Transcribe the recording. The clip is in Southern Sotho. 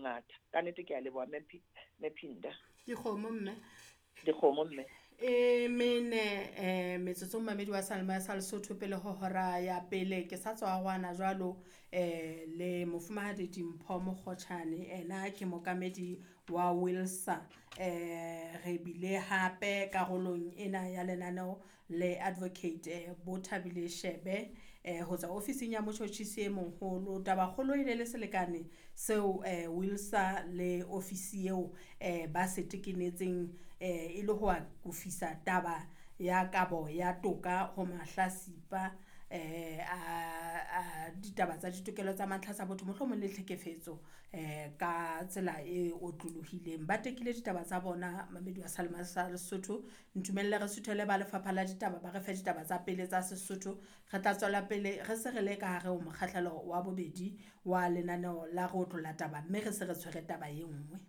Bongata. Ka nnete ke a leboha Mme Phinda. Dikgomo mme. Dikgomo mme. E mene metsotso mamedi wa Salma sa Lesotho pele ho hora ya pele ke sa tswa gwana jwalo le mofumahadi Dimpho Mokgotjhane ena ke mokamedi wa Wilsa. Re bile hape karolong ena ya lenaneo le advocate Bothabile Shebe ho tswa ofising ya motjhotjhisi e moholo. Tabakgolo e ne le selekane seo Wilsa le ofisi eo ba se tekenetseng e le ho akofisa taba ya kabo ya toka ho mahlasipa a ditaba tsa ditokelo tsa mantlha tsa botho mohlomong le tlhekefetso ka tsela e otlolohileng. Ba tekile ditaba tsa bona mamedi wa Salema sa Lesotho. Ntumelle re suthele ba lefapha la ditaba ba re fe ditaba tsa pele tsa Sesotho. Re tla tswela pele re se re le ka hare ho mokgahlelo wa bobedi wa lenaneo la re otlolla taba mme re se re tshwere taba e nngwe.